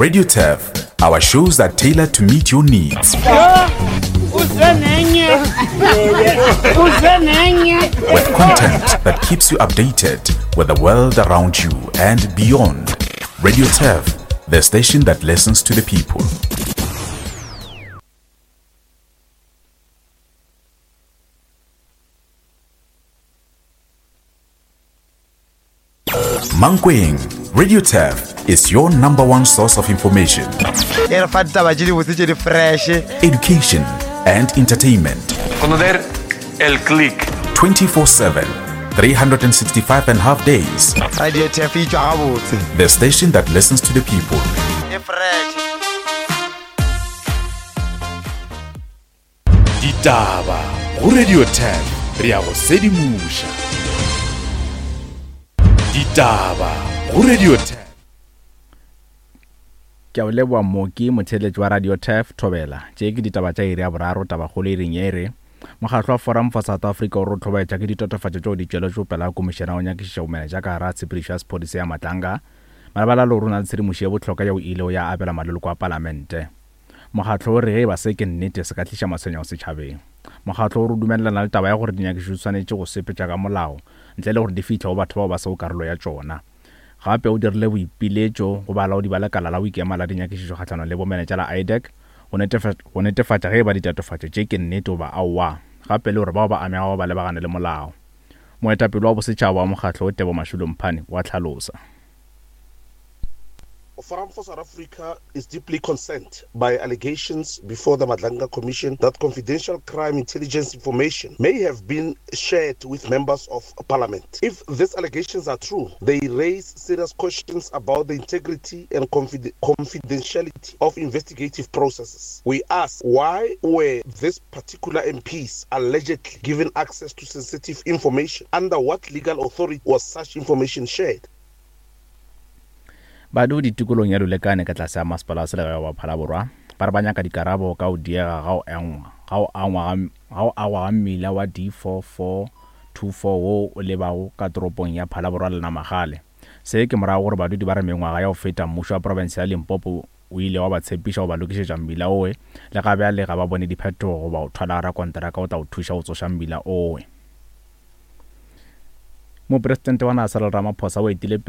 Radio Turf, our shows are tailored to meet your needs. With content that keeps you updated with the world around you and beyond. Radio Turf, the station that listens to the people. Mankweng, Radio Turf is your number one source of information. E re fa ditaba tše dibotse tše di fresh. Education and entertainment. Conocer el click. 24-7, 365 and a half days. Radio Turf e tšwa gabotse. The station that listens to the people. E fresh. Ditaba go Radio 10 re ya go sedimoša. Ditaba go Radio 10. Ke a o leboa Mooki, motheeletši wa Radio Turf, Thobela. Tše ke ditaba tša iri ya boraro, tabakgolo iring ye e re, Mokgatlo wa Forum for South Africa o re o hlobaetša ke ditatofatšo tšeo di tšweletšego pele ga komišene ya go nyakišiša bomenetša ka gare ga tshepedišo ya sephodisa ya Matlanga malebana le gore o na le tshedimošo ye bohlokwa yeo e ilego ya abelwa maleloko a palamente. Mokgatlo o re ge e ba se ke nnete se ka tliša matshwenyego setšhabeng. Mokgatlo o re o dumelelana le taba ya gore dinyakišišo di swanetše go sepetšwa ka molao ntle le gore di fihle go batho bao ba sego karolo ya tšona. Gape o dirile boipiletšo go balaodi ba lekala la go ikema la dinyakišišo kgahlanong le bomenetša la IDAC go netefatša ge e ba ditatofatšo tše ke nnete goba aowa, gape le gore bao ba amegago ba lebagane le molao. Moetapele wa bosetšhaba wa mokgatlo wo Tebo Mashilo Mphane o a hlalosa. Forum for South Africa is deeply concerned by allegations before the Madlanga Commission that confidential crime intelligence information may have been shared with members of parliament. If these allegations are true, they raise serious questions about the integrity and confidentiality of investigative processes. We ask why were these particular MPs allegedly given access to sensitive information? Under what legal authority was such information shared? Badudi tikolong ya Lulekane ka tlase ga Masepala wa Selegae wa Phalaborwa ba re ba nyaka dikarabo ka go diega ga go engwa ga go angwa ga ga go agwa ga mmila wa D4424 wo o lebago ka toropong ya Phalaborwa le Namagale. Se ke morago gore badudi ba re mengwaga ya go feta mmušo wa profense ya Limpopo o ile wa ba tshepiša go ba lokišetša mmila owe le ga bjale ga ba bone diphetogo goba go thwala rakonteraka go tla go thuša go tsoša mmila owe. Mopresidente wa naga Cyril Ramaphosa o etile pele.